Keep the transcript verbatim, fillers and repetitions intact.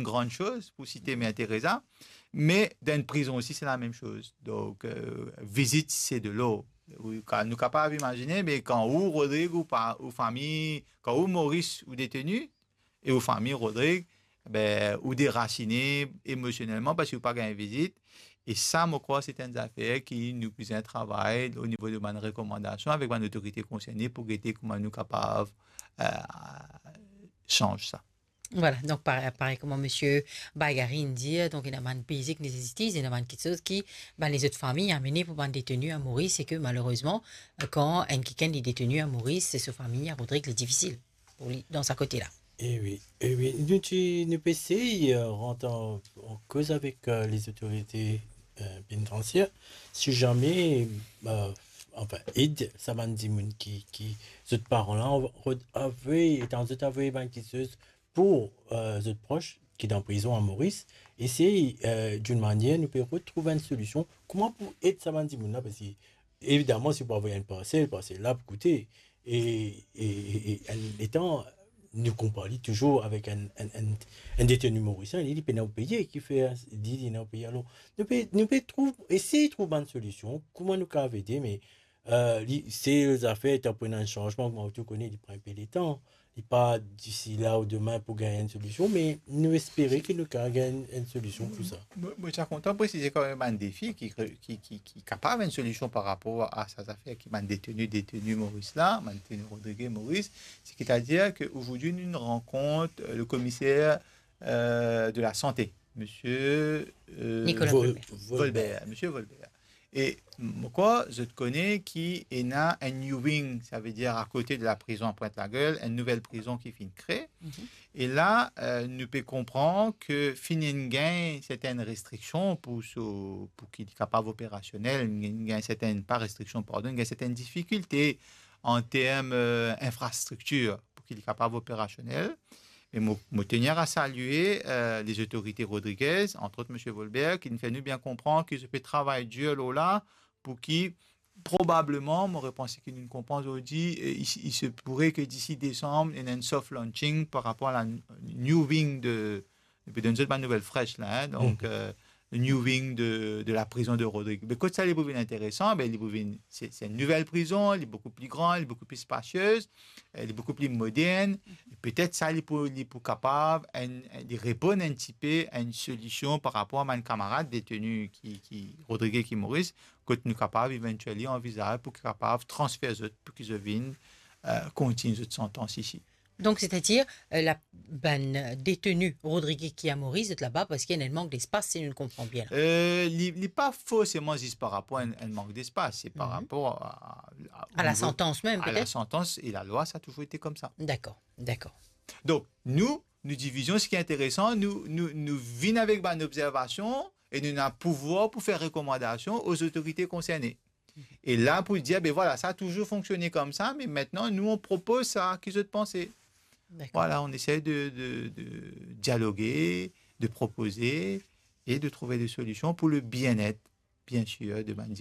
une grande chose, pour citer Mère Teresa, mais dans une prison aussi, c'est la même chose. Donc, euh, visite, c'est de l'or. Ou ka-, nou kapav imazine, me kan ou, Rodrig, ou pa, ou fami, kan ou, Moris, ou deteni, e ou fami, Rodrig, be, ou derasine emosionelman parski ou pa gagn vizit. E sa, mo krwar, se enn zafer ki nou bizin travay o nivo de bann rekomandasion avek bann otorite konserne pou gete kouma nou kapav, eh, sanz sa. Voilà, donc par-, parey kouma Misie Baigari inn dir, donk ena bann basic necessities, ena bann kiksoz ki bann lezot fami amene pou bann deteni a Moris, e ke malerezman, kan enn kikenn li deteni a Moris, se so fami a Rodrig, li difisil pou li dan sa kote la. E wi, e wi. Nou ti, nou pe esey, eh, rant an, an koz avek, eh, lezotorite, eh, penitensier, si zame, eh, anfin, ed sa bann dimoun ki, ki zot paran la, avo-, avoy, letan zot avoy bann kiksoz pou, eh, zot pros ki dan prizon a Moris, esey, eh, d'une manière, nou pe retrouv enn solision, kouma pou ed sa bann dimoun la, parski, evidaman, si ou pou avoy enn parsel, parsel la pou koute. E, e, e, e enn letan, nou konpar li touzour avek enn, enn, enn, enn deteni morisien, li, li pena pou peye, ki fer, li, li pena pou peye. Alor, nou pe, nou pe trouv, esey trouv bann solision, kouma nou kapav ede, me, eh, li, se zafer, letan pou ena enn sanzman, kouma ou tou kone, li pran enpe letan. Li pa disi la ou demin pou gagn enn solision, me nou espere ki nou kapav gagn enn solision pou sa. Mo, mo ti a kontan presize kanmem bann defi ki, ki, ki, ki kapav enn solision par rapor a sa zafer ki bann deteni, deteni Moris la, bann deteni Rodrig e Moris, setadir ke ozordi nou rankontre, eh, le komiser, eh, de la sante, misie, eh, Nicolas Vol-, Volbert. Volbert, misie Volbert. E mo krwar zot kone ki ena enn new wing, savedir akote de la prizon Pointe-la-Gueule, enn nouvel prizon ki finn kre. Mhm. E la, eh, nou pe konpran ke finn gagn sertenn restriksion pou so, pou ki li kapav operasionel, gagn sertenn, pa restriksion, pardon, gagn sertenn difikilte an term, eh, infrastriktir pou ki li kapav operasionel. Me mo, mo tenir a salie, eh, lezotorite rodrigez, antrot misie Volbert, ki finn fer nou bien konpran ki zot pe travay dir lor la, pou ki probableman, mo repanse ki nou konpran ozordi, eh, il, il se pourrait que d'ici décembre, ena enn soft launching par rapor a la new wing de, nou pe donn zot bann nouvel fresh la, hein, donk, mhm, eh, new wing de, de la prizon de Rodrig. Me kot sa li pou vinn interesan, be, li pou vinn, se, se enn nouvel prizon, li boukou pli gran, li boukou pli spasiez, eh, li boukou pli modern. E petet sa, li pou, li pou kapav enn, li reponn enn tipe a enn solision par rapor a bann kamarad deteni ki, ki Rodrig e ki Moris, kot nou kapav eventually anvizaz pou kapav transfer zot, pou ki zot vinn, eh, kontign zot santans isi. Donk, setadir, eh, la, bann deteni Rodrig ki a Moris, zot laba, parski ena enn mank lespas, si nou konpran bien la. Eh, li, li pa forseman zis par rapor a enn, enn mank lespas, se par, mhm, rapor a, a, a la santans mem, a la petet? Santans e lalwa, sa touzour ete koumsa. Dakor, dakor. Donk, nou, nou divizion, seki interesan, nou, nou, nou vinn avek bann obzervasion e nou ena pouvwar pou fer rekomandasion o zotorite konserne. E la pou dir, be vwala, sa a touzour fonksione koumsa, me aster nou, on propoz sa, ki zot panse? Dakor. Vwala, on esey de, de, de dialoge, de propoze e de trouve de solision pou le bien-être, bien sir, de bann dimoun.